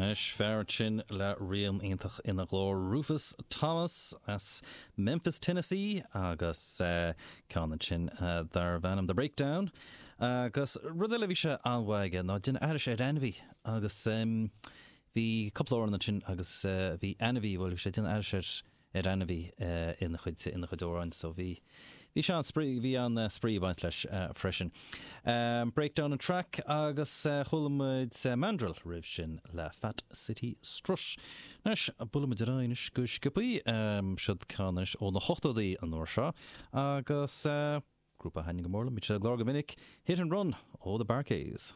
Anois, fear ansin le rian iontach ina ghlór, Rufus Thomas as Memphis, Tennessee agus ceann ansin darbh ainm The Breakdown. Agus rud eile a bhí sé an-mhaith aige ná déanamh aithris ar ainmhí agus bhí cúpla amhrán ansin agus bhí ainmhí, bhuel bhí sé ag déanamh aithris ar ar ainmhí ina chuid ina chuid amhráin so bhí bhí sé an-spraoi bhí an-spraoi ag baint leis freisin. Breakdown an track agus chuala muid Mandrill roimh sin le Fat City Strut. Anois buailfidh muid ar aghaidh anois go sciobthaí siod ceann anois ó na hochtóidí an uair seo agus grúpa a thaitníonn go mór liom, bíonn siad ar an gclár go minic, Hit and Run ó The Bar-Kays.